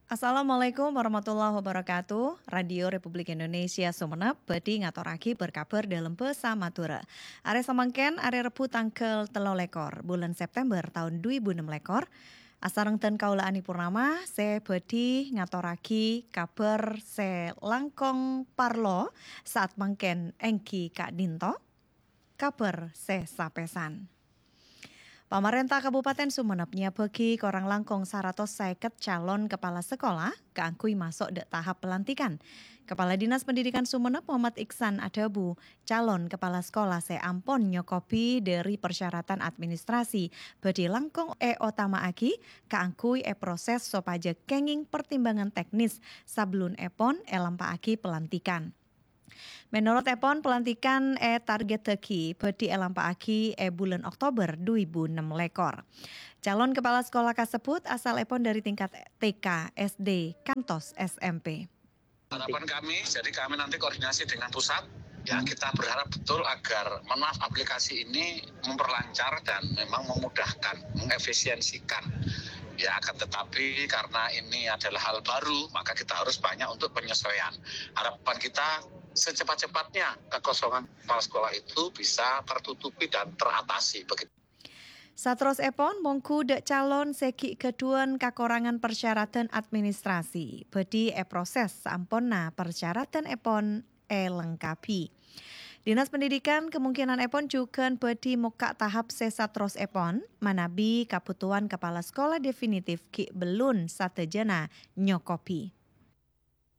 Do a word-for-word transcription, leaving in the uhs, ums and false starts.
Assalamualaikum warahmatullahi wabarakatuh. Radio Republik Indonesia Sumenep bhâdhi ngatorraghi berkabar dâlem bhâsa Madhurâ. Arè samangkèn, arè Rebbhu tangghâl tello lèkor bulân September taon dhu èbu ennem lèkor. Asareng dân kaulâ Ani Purnama sè bhâdhi ngatorraghi kabhâr sè langkong parlo saat mangkèn èngghi ka'dinto. Kabhâr sè sapèsan. Pamarènta Kabupaten Sumenep nyabâgi korang langkong saratos sèket calon kepala sekolah kaangghuy maso' dâ' tahap pelantikan. Kepala Dinas Pendidikan Sumenep Muhammad Iksan adhâbu, calon kepala sekolah sè ampon nyokobi dhâri persyaratan administrasi bhâdhi langkong èotama'aghi kaangghuy èproses sopajâ kèngèng pertimbangan teknis sabellunèpon èlampa'aghi pelantikan. Mènorot èpon, pelantikan ètargèttaghi bhâdhi èlampa'aghi è bulân Oktober dhu èbu ennem lèkor. Calon kepala sekolah kasebbhut asalèpon dhâri tingkat T K, S D, kantos S M P. Harapan kami, jadi kami nanti koordinasi dengan pusat. Ya, kita berharap betul agar, mohon maaf, aplikasi ini memperlancar dan memang memudahkan, mengefisiensikan. Ya, akan tetapi karena ini adalah hal baru, maka kita harus banyak untuk penyesuaian. Harapan kita secepat-cepatnya kekosongan kepala sekolah itu bisa tertutupi dan teratasi begitu. Saterrossèpon, mongghu dâ' calon sè ghi' ghâdhuwân kakorangan persyaratan administrasi, bhâdhi èproses saamponna persyaratanèpon èlengkabi. Dinas Pendidikan kemungkinanèpon jhughân bhâdhi mokka' tahap sè saterrossèpon, manabi kabhutowan kepala sekolah definitif ghi' bellun sadhâjâna nyokobi.